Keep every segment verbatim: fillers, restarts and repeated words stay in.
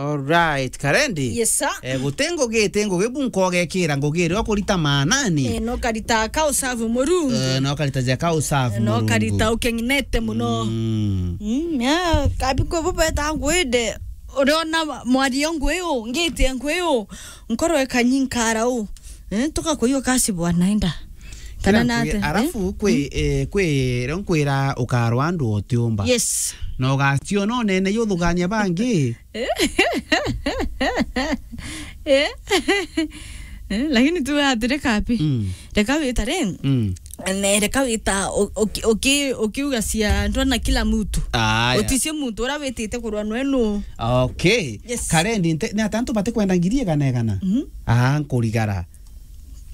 Alright, Karendi. Yes, sir. Eh, guti ngugi, ti ngugi bu nkogekira ngugi iria ukurita maanani. Eh, no karita ka usavu Murungu. Eh, no karita ja ka usavu Murungu. No karita ukenginete muno. Mm. Mm, ya, kabi kwe bu beta ngwende. Uriona mwario ngwi u, ngite ngwi u. Nkoro ekanyi nkara u. Eh, tuka kwa hiyo kasi bwana enda. Kana nate, eh? Arafu kwi, eh, kwi, rio nkwira ukarwa andu utiumba. Yes. Na ugaciona unene yuthugania bangi. Eh, lakini tu atiri kapi. Mm. Reka wita ri. Mm. Ne, reka wita u-, uki-, uki-, ukiuga cia ndona kila mtu. Aya. Uticie muntu ura witite kurwa nwe nu. Okay. Yes. Karendi, nte-, ni atantu bati kwenda ngiri igana igana? Mhm. Ah, nkurigara.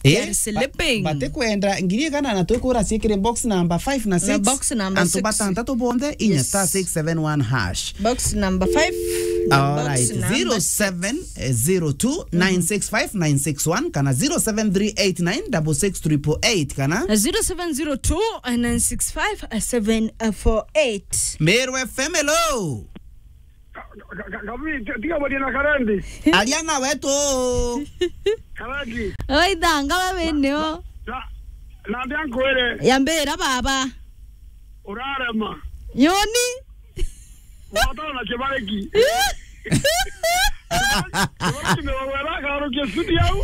Eh, they are sleeping. Ba-, bati kwenda ngiri igana na twikura ciikire box number five na six. Na box number six. Antu batantatu bonthe, inya star six seven one hash. Yes. Box number five. All right. Box number six. Zero seven zero two nine six five nine six one kana zero seven three eight nine double six triple eight kana zero seven zero two nine six five seven four eight. Meru F M, hello. Ka-, ka-, ka-, kabi, ti-, tiga barie na Karendi. Aria na wetu. Karendi. Oi, thanga we wene o. Na, na, na ndia nkwire. Yambira baba. Urarema. Nyoni. Watana na kibariki. Kibariki ni wewe na karukia studio au.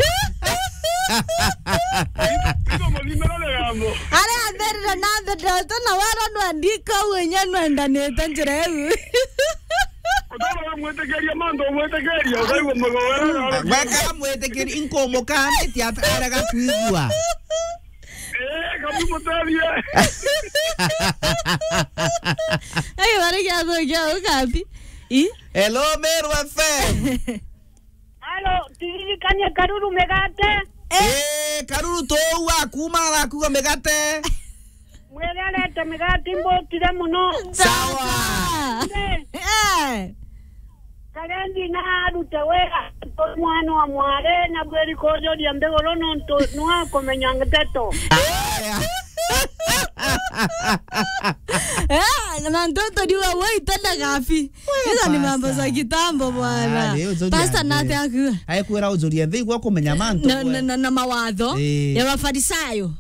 Niko mwenye mbele ya jambo. Aria ambirire na mbere tu na wara ndwandika u inya nwendanite njira iu. Utara mwitikiria mantu mwitikiria, ukaigua mugowera. Weka mwitikiria, inkumukanitie at-, arega kwigua. Eh, kabi mutethie. Ai, wari gia thukia ukapi. I? Hello, Meru F M. Halo, tiririkania Karuru migate. Eh, Karuru tuu wa kuuma arakuga migate. Mwirerete migate mbutire muno. Sawa. Sawa. Eh. Karendi na arute wira, mwana wa mware, na bweri kujuria mbiguru nontu nwa kumenya nteto. Aya. Eh, na ntoto ndiuga we itenda gabi. Hizo ni mambo za kitambo bwana. Ah, leo ujuria nthi. Pastor nate akuga. Aikwira ujuria nthi igua kumenya mantu. Na, na, na, na mawatho ya Mafarisayo.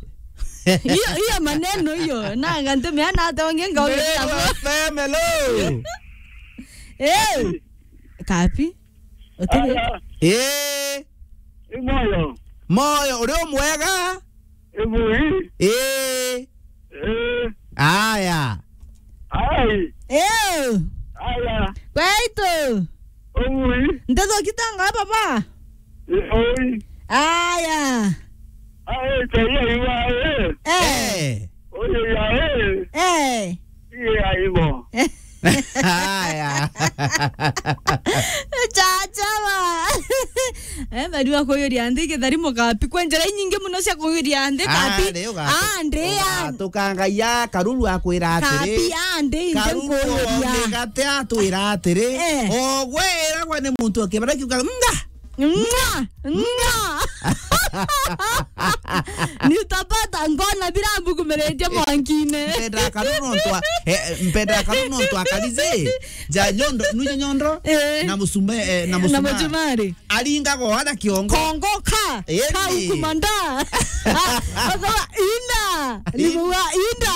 Hiyo, hiyo maneno hiyo. Na ngante meana ate onge ngauge. Meru F M, hello. Eh. Kapi? Utebe. Aya. Eh. Ni moyo. Moyo, uri umwega? Ibui. Ii. Ii. Aya. Ai. Ew. Aya. Kwaitu. Ibui. Ntetho kitanga baba. Ibui. Aya. Ai, tayari wa, eh. Eh. Eh. Oyo ya, eh. Eh. Iya, ibo. Haya. Chacha ba. Eh, bari wa kuyuria nthi githari mugapi. Kwe njira inyingi muno cia kuyuria nthi, ah, kapi. Andi, ah, ndi, ah. Tukangaia Karuru akwira atiri. Kapi, andi, indi nkuyuria. Karuru migate atwira atiri. Eh. Ogwe iragwa ni muntu akibara kiuga, "Nga." Nga, nga. Nitapata ngona bila mbukumiritie mwankine. Mpenda Karuru nontu a-, eh, mpenda Karuru nontu akarizi. Ja nyondo, nuje nyondo, eh, na musume, eh, na musumari. Aringa go ada kiongo. Kongoka. Eh, kau kumanda. Akaba ina. Ni muga ina.